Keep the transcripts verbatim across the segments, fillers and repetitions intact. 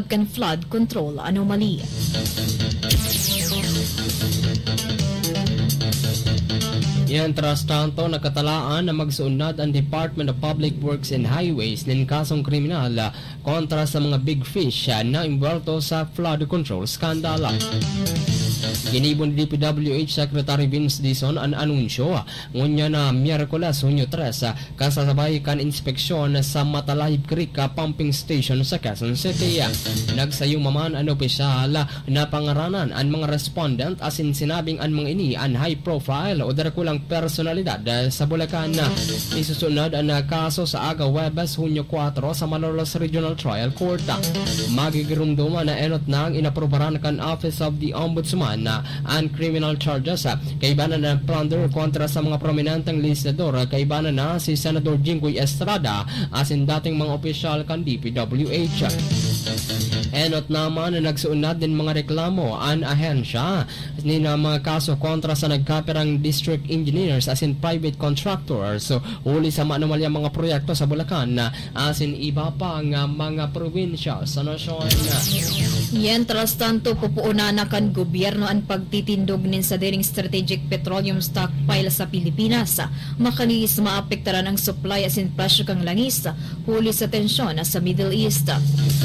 kan flood control anomaly. Mientras tanto, nakatalaan na magsuunad ang Department of Public Works and Highways nin kasong kriminal kontra sa mga big fish na imbwelto sa flood control scandal. Ginibo ni D P W H Secretary Vince Dizon an anunsyo, ngunyan na Miyerkules, Hunyo tres, kasabay kan inspeksyon sa Matalahib Creek Pumping Station sa Quezon City. Nagsayuma man an opisyal na pangaranan an mga respondent asin sinabing an mga ini an high profile o dakulang personalidad sa Bulacan. Isusunod an kaso sa aga Huwebes, Hunyo kuwatro, sa Malolos Regional Trial Court. Magigirumduman na enot nang inaprubaran kan Office of the Ombudsman an criminal charges kaibanan na plunder kontra sa mga prominenteng legislador, kaibanan na si Senador Jinggoy Estrada asin dating mga opisyal kan D P W H. Enot naman na nagsuunad nin mga reklamo an ahensya nin mga kaso kontra sa nagkapirang district engineers asin private contractors huli sa manumalyang mga proyekto sa Bulacan asin iba pang mga probinsya sa nasyon. Mientras tanto, pupuonan na kan gobyerno an pagtitindog nin sadiring strategic petroleum stockpile sa Pilipinas, makalihis maapektaran ang supply asin presyo kan langis huli sa tensyon sa Middle East.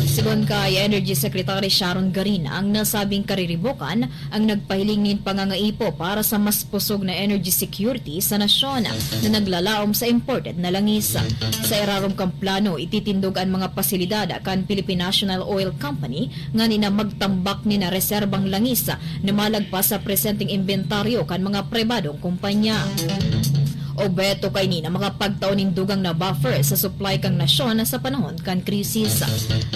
Sigon kay Energy Secretary Sharon Garin, ang nasabing kariribokan ang nagpahiling nin pangangaipo para sa mas pusog na energy security sa nasyon na naglalaom sa imported na langis. Sa irarom kan plano, ititindog an mga pasilidad kan Philippine National Oil Company ngani na magtambak nin reserbang langis na malagpas sa presenteng imbentaryo kan mga pribadong kumpanya. Obheto kaini na makapagtao nin dugang na buffer sa supply kan nasyon sa panahon kan krisis.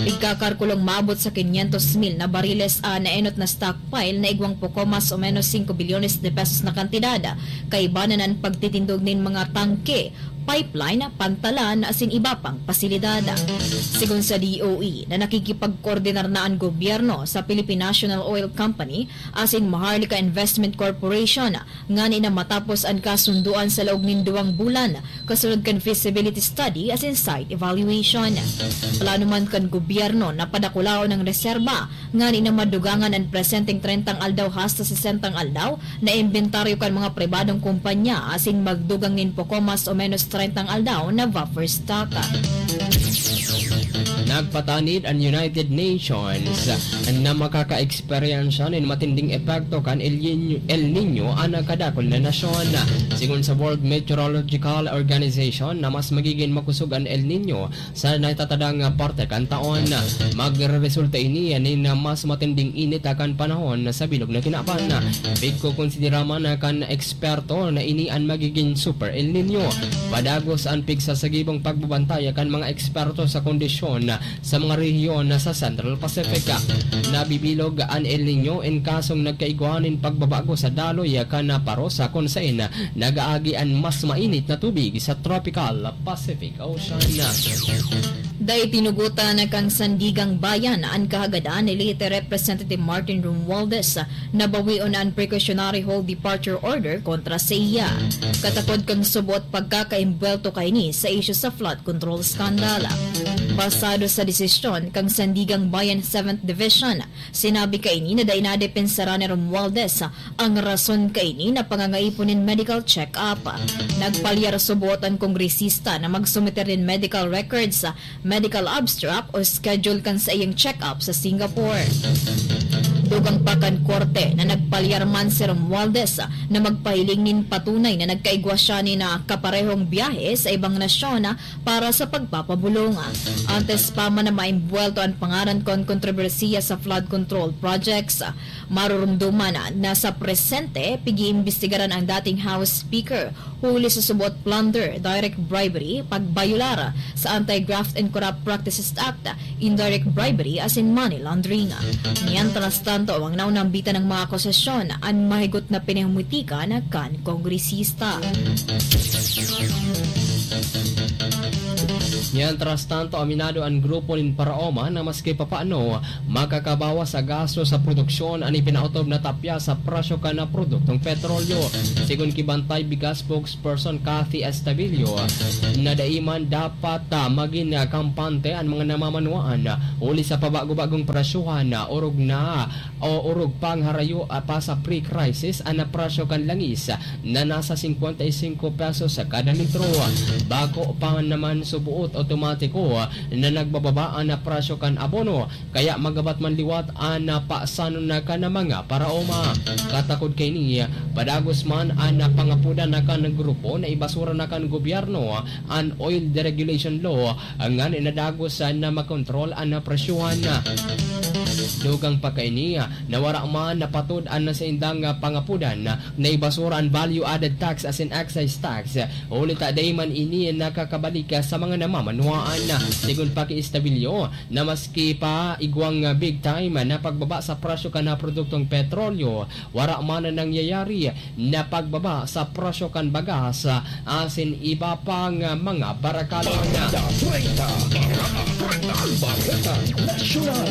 Igkakalkulong maabot sa quinientos mil na bariles an enot na stockpile na igwang poko mas o menos singko bilyones de pesos na kantidad. Kaibanan an pagtitindog nin mga tangke, pipeline, pantalan, asin iba pang pasilidad. Sigon sa D O E, na nakikipagkoordinar na an gobyerno sa Philippine National Oil Company asin Maharlika Investment Corporation, ngani na matapos an kasundoan sa laog nin duwang bulan, kasunod kan feasibility study asin site evaluation. Plano man kan gobyerno na padakulaon ang reserba, ngani na madugangan an presenteng trentang aldaw hasta sesentang aldaw na imbentaryo kan mga pribadong kumpanya asin magdugang nin poko mas o menos trentang aldaw na buffer stock. Nagpatanid an United Nations na makaka-eksperyensya nin matinding epekto kan El Niño, El Niño an kadakul na nasyon. Sigon sa World Meteorological Organization na mas magigin makosog an El Niño sa naitatadang parte kan taon. Magreresulta ini nin mas matinding init kan panahon sa bilog na kinaban. Pigkokonsidera man kan eksperto na ini an magigin Super El Niño. Padagos an pigsasagibong pagbabantay kan mga eksperto sa kondisyon sa mga rehiyon sa Central Pacific. Nabibilog an El Niño in kasong nagkaigwa nin pagbabago sa daloy kan paros, kun saen nag-aagi an mas mainit na tubig sa Tropical Pacific Ocean. Dai tinugotan kan Sandigang Bayan an kahagadan ni Leyte Representative Martin Romualdez na bawion an precautionary hold departure order kontra saiya, katakod kan suboot pagkakaimbwelto kaini sa isyu sa flood control scandal. Basado sa desisyon kan Sandigang Bayan Seventh Division, sinabi kaini na dai nadepensaran ni Romualdez ang rason kaini na pangangaipo nin medical check-up. Nagpalyar suboot an kongresista na magsumiter nin medical records, medical abstract o schedule kan saiyang check-up sa Singapore. Dugang pa kan korte na nagpalyar man si Romualdez na magpahiling nin patunay na nagkaigwa siya nin kaparehong biyahe sa ibang nasyon para sa pagpapabulong. Antes pa man na maimbwelto an pangaran kan kontrobersiya sa flood control projects, marurumduman na sa presente, pig-iimbestigaran ang dating House Speaker huli sa suboot plunder, direct bribery, pagbayolar sa Anti-Graft and Corrupt Practices Act, indirect bribery, asin money laundering. Mientras tanto, ang naunambitan ng mga akusasyon an mahigot na pinahumitikan kan kongresista. Mientras tanto, aminado an grupo nin Paraoma na maski papaano makakabawas sa gasto sa produksyon an ipinaotob na tapya sa presyo kan produktong petrolyo. Sigon ki Bantay Bigas spokesperson Cathy Estabillo, na dai man dapat, ah, magin, ah, kampante an mga namamanwaan, ah, huli sa pabago-bagong presyohan, ah, orog na o orog pang harayo, ah, pa sa pre-crisis an presyo kan langis, ah, na nasa singkwenta y singko pesos sa kada litro. Bako pa naman subuot otomatiko na nagbababa an presyo kan abono, kaya magabat man liwat an pasanon na kan mga Paraoma. Katakod kaini, padagos man an pangapodan na kan grupo na ibasura na kan gobyerno an oil deregulation law, ngani na dagos na makontrol an presyohan. Dugang pa kaini, na wara man napatod an saindang pangapodan na ibasura an value-added tax asin excise tax, huli ta dai man ini nakakabalik sa mga namamanwaan. Sigon pa ki Estabillo, na maski pa igwang big time na pagbaba sa presyo kan produktong petrolyo, wara man na nangyayari na pagbaba sa presyo kan bagas asin iba pang mga barakalon. Bareta Treinta, Bareta Treinta, Bareta Nasyonal.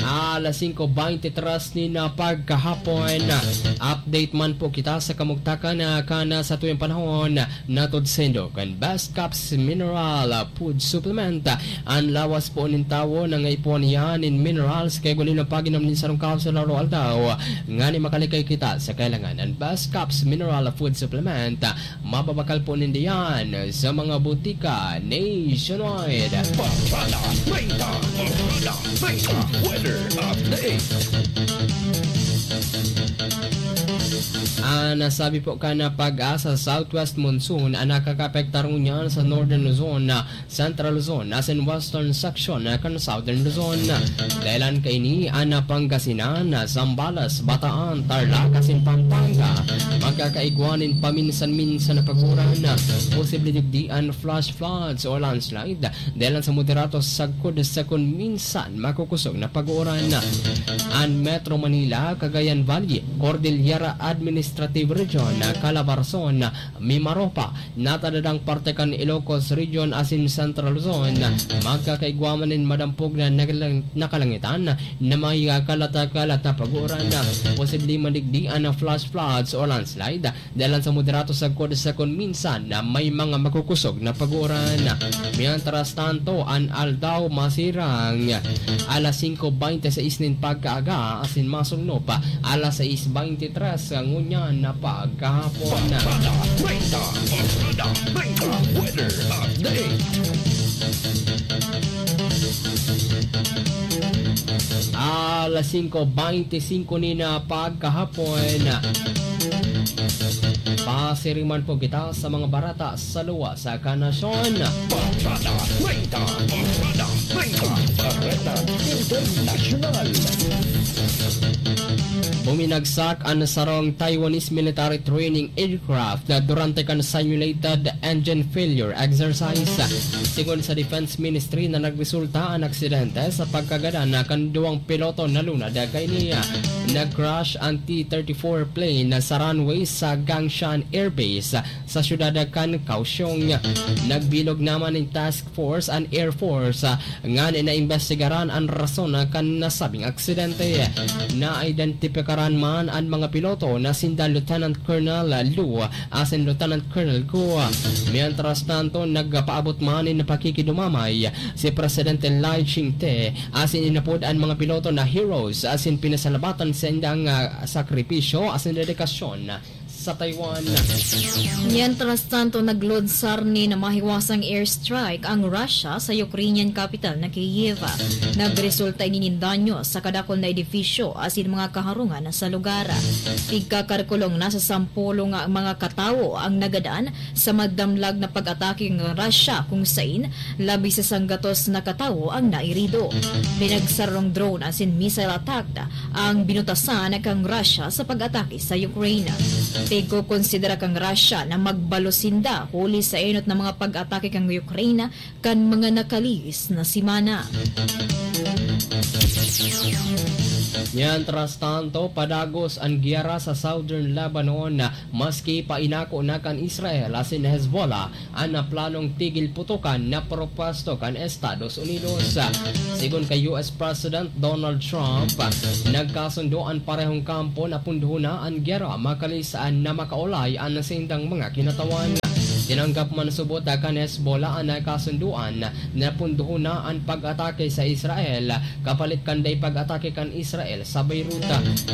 Alas singko beintitres nin pagkahapon. Update man po kita sa kamugtakan na kan satuyang panahon. Natod saindo kan Best Caps Mineral Food Supplement. An lawas po nin tawo nangaipuhan niya nin minerals kaya guli na pag-inom nin sarong kapsula aldaw-aldaw ngani makalikay kita sa kailangan. An Best Caps Mineral Food Supplement, mababakal po ninda yan sa mga butika nationwide. Bareta Treinta, Bareta Treinta, weather update. An nasabi po kan PAGASA, southwest monsoon an nakakaapektar ngunyan sa Northern Luzon, Central Luzon, asin western section kan Southern Luzon. Dahelan kaini an Pangasinan, Zambales, Bataan, Tarlac, asin Pampanga. Magkakaigwa nin paminsan-minsan na pag-uran, posible digdi an flash floods o landslide. Dahelan sa moderato sagkod sa kun minsan makukosog na pag-uuran. An Metro Manila, Cagayan Valley, Cordillera Administrative Region, Calabarzon, Mimaropa, natadadang parte kan Ilocos Region asin Central Luzon, magkakaigwa man nin madampog na nakalang-, nakalangitan na may kalata-kalata pag-uuran. Posible man digdi an flash floods o landslide. Dahelan sa moderato sagkod sa kun minsan na may mga makukosog na pag-uuran. Mientras tanto, an aldaw masirang alas singko beintiseis nin pagkaaga asin masungnop alas sais beintitres ngunyan na pagkahapon. Bareta Treinta, Bareta Treinta, weather update. Alas singko beintisinko nin pagkahapon. Pasiriman po kita sa mga bareta sa luwas kan nasyon. Bareta Treinta, Bareta Treinta, Bareta Internasyonal. Buminagsak an sarong Taiwanese military training aircraft na durante kan simulated engine failure exercise. Sigon sa Defense Ministry na nagresulta an aksidente sa pagkagadan na kan duwang piloto na lunad kaini. Nag-crash an T thirty-four plane sa runway sa Gangshan Air Base sa siyudad kan Kaohsiung. Nagbilog naman nin task force an Air Force, ah, ngan naimbestigaran an rason kan nasabing aksidente. Naiidentipikaran man an mga piloto na sinda Lieutenant Colonel Lu asin Lieutenant Colonel Guo. Mientras tanto, nagpaabot man nin pakikidumamay si Presidente Lai Ching-te asin inapod an mga piloto na heroes asin pinasalamatan sa indang, ah, sakripisyo asin dedikasyon sa Taiwan. Mientras tanto, naglunsar nin mahiwasang airstrike ang Russia sa Ukrainian capital na Kyiv. Nagresulta ini nin danyo sa kadakul na edifisyo asin mga kaharungan sa lugar. Tigkakalkulong nasa sampolo nga mga katawo ang nagadan sa madamlag na pag-atake ng Russia, kung sain labis sa sanggatos na katawo ang nairido. Pinagsarong drone asin missile attack ang binutasan kan Russia sa pag-atake sa Ukraine. Pigkokonsidera kan Russia na magbalos sinda huli sa enot na mga pag-atake kan Ukraine kan mga nakalihis na semana. Mientras tanto, padagos an giyera sa Southern Lebanon, maski pa inako na kan Israel asin Hezbollah an planong tigil putukan na propuesto kan Estados Unidos. Sigon kay U S President Donald Trump, nagkasundo an parehong kampo na pundohon na an giyera makalis na makaolay an saindang mga kinatawan. Tinanggap man subot kan Hezbollah an kasundoan na pundohon na an pag-atake sa Israel kapalit kan dai pag-atake kan Israel sa Beirut.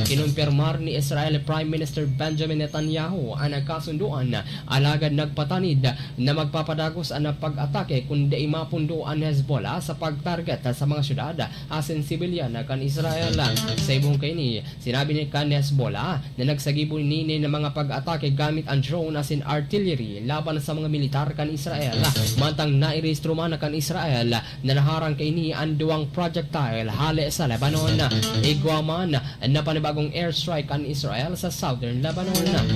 Kinumpirmar ni Israel Prime Minister Benjamin Netanyahu an kasundoan, alagad nagpatanid na magpapadagos an pag-atake kun dai mapundo an Hezbollah sa pagtarget sa mga syudad asin sibilyan kan Israel. Sa ibong kaini, sinabi ni kan Hezbollah na nagsagibo nini na mga pag-atake gamit an drone asin artillery laban sa mga militar kan Israel. Mantang nairehistro man kan Israel na naharang kaini an duwang projectile hale sa Lebanon. Igwa man na panibagong airstrike kan Israel sa southern Lebanon.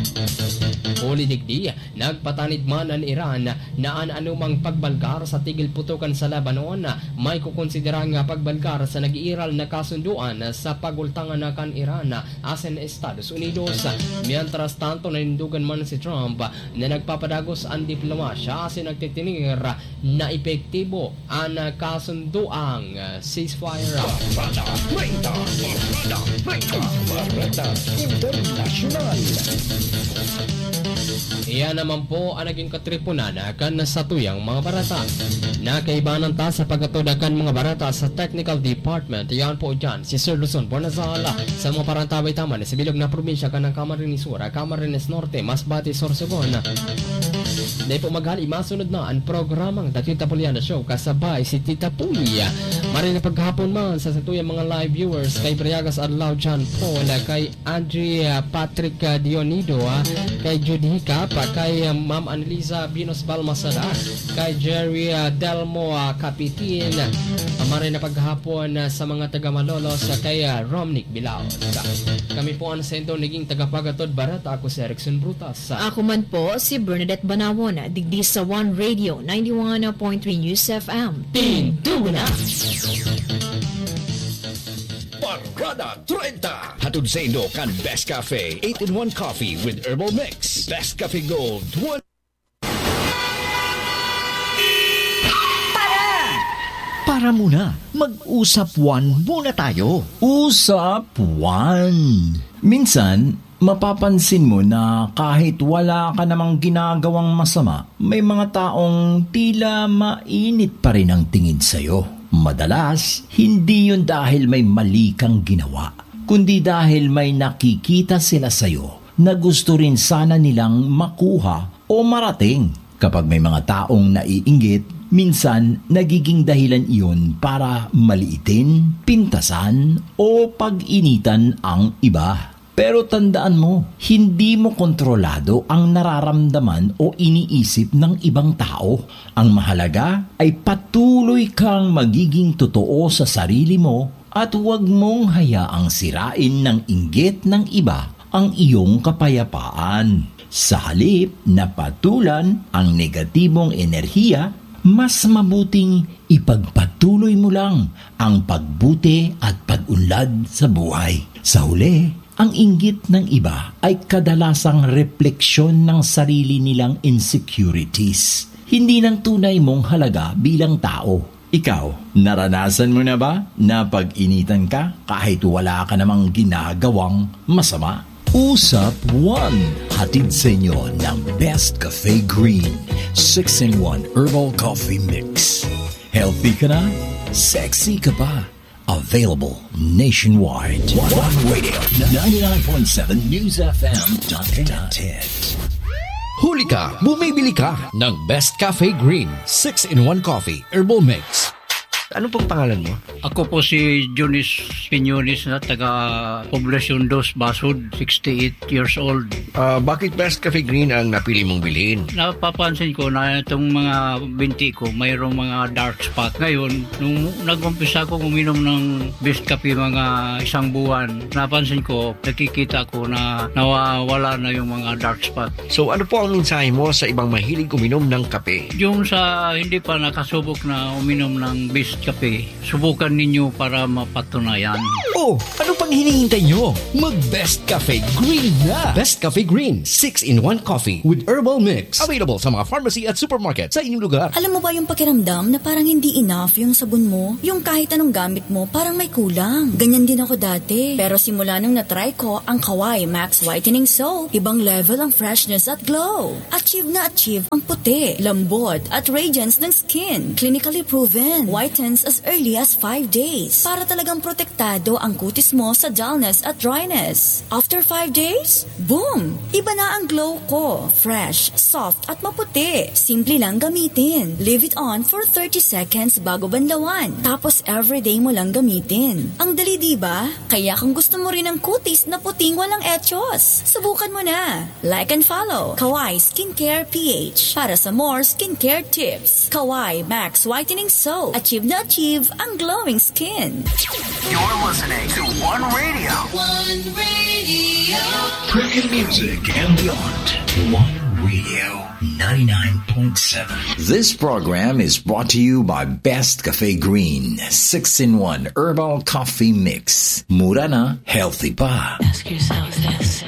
Huli digdi, nagpatanid man an Iran na an anumang pagbalgar sa tigil putukan sa Lebanon may kukonsidera nga pagbalgar sa nag-iiral na kasundoan sa pagultangan na kan Iran asin Estados Unidos. Mientras tanto, nanindugan man si Trump na nagpapadagos an diplomasya asin nagtitinir na epektibo an kasundoang ceasefire. Barkada treinta, Barkada treinta, Barkada Internasyonal. Iyan naman po ang naging katripunan kan satuyang mga bareta. Nakaibanan ta sa pagkatuda kan mga bareta sa technical department. Iyan po dyan si Sir Luzon Bonazal sa mga parantabay taman sa bilog na probinsya kan Camarines Sur, Camarines Norte, Masbate, Sorsogon. Dai po maghali, masunod na ang programang The Tita Puliana Show kasabay si Tita Puli. Maray na paghapon man sa satuyang mga live viewers kay Briagas Adlaw John Paul, kay Andrea Patrick, ah, Dionido, ah, kay Jude Hicap, ah, kay, ah, Ma'am Annalisa Binos Balmasada, kay Jerry, ah, Delmo, ah, Capitin. Ah, maray na paghapon, ah, sa mga taga Malolos, ah, kay, ah, Romnick Bilaos. Kami po ang sendo naging tagapagatod bareta. Ako si Erickson Brutas. Ako man po si Bernadette Banawon, digdi sa One Radio ninety-one point three News F M. Tindugo na! Barkada treinta. Hatod saindo kan Best Cafe, eight-in-one Coffee with Herbal Mix. Best Cafe Gold, one. Para! Para muna, mag-usap one muna tayo. Usap one. Minsan, mapapansin mo na kahit wala ka namang ginagawang masama, may mga taong tila mainit pa rin ang tingin sa'yo. Madalas, hindi yun dahil may mali kang ginawa, kundi dahil may nakikita sila sa'yo na gusto rin sana nilang makuha o marating. Kapag may mga taong naiinggit, minsan nagiging dahilan iyon para maliitin, pintasan, o pag-initan ang iba. Pero tandaan mo, hindi mo kontrolado ang nararamdaman o iniisip ng ibang tao. Ang mahalaga ay patuloy kang magiging totoo sa sarili mo at huwag mong hayaang sirain ng inggit ng iba ang iyong kapayapaan. Sa halip na patulan ang negatibong enerhiya, mas mabuting ipagpatuloy mo lang ang pagbuti at pag-unlad sa buhay. Sa huli, ang inggit ng iba ay kadalasang refleksyon ng sarili nilang insecurities, hindi ng tunay mong halaga bilang tao. Ikaw, naranasan mo na ba na pag-initan ka kahit wala ka namang ginagawang masama? Usap one, hatid sa inyo ng Best Cafe Green, six-in-one Herbal Coffee Mix. Healthy ka na? Sexy ka pa? Available nationwide. One Radio, ninety-nine point seven News F M. Dot net. Huli ka, bumibili ka ng Best Cafe Green, six-in-one Coffee, Herbal Mix. Ano pong pangalan mo? Ako po si Jonis Piñones na taga Poblacion Dos, Basud, sixty-eight years old. Ah, bakit Best Cafe Green ang napili mong bilhin? Napapansin ko na itong mga binti ko, mayroong mga dark spot. Ngayon, nung nag-umpisa akong uminom ng Best Cafe mga isang buwan, napansin ko, nakikita ko na nawawala na yung mga dark spot. So, ano po ang mensahe mo sa ibang mahilig uminom ng kape? Yung sa hindi pa nakasubok na uminom ng Best Cafe. Subukan ninyo para mapatunayan. Oh, ano pang hinihintay nyo? Mag Best Cafe Green na! Best Cafe Green, six-in-one coffee with herbal mix. Available sa mga pharmacy at supermarket sa inyong lugar. Alam mo ba yung pakiramdam na parang hindi enough yung sabon mo? Yung kahit anong gamit mo, parang may kulang. Ganyan din ako dati. Pero simula nung na-try ko ang Kawai Max Whitening Soap, ibang level ang freshness at glow. Achieve na achieve ang puti, lambot, at radiance ng skin. Clinically proven. Whitens as early as five days. Para talagang protektado ang kutis mo sa dullness at dryness. After five days, boom! Iba na ang glow ko. Fresh, soft, at maputi. Simple lang gamitin. Leave it on for thirty seconds bago banlawan. Tapos everyday mo lang gamitin. Ang dali, di ba? Kaya kung gusto mo rin ang kutis na puting walang echos, subukan mo na. Like and follow Kawai Skincare P H para sa more skincare tips. Kawai Max Whitening Soap. Achieve na achieve ang glowing skin. You're listening to One Radio. Premium music and beyond. One Radio, ninety-nine point seven. This program is brought to you by Best Cafe Green, six-in-one Herbal Coffee Mix. Mura na, healthy pa. Ask yourself this.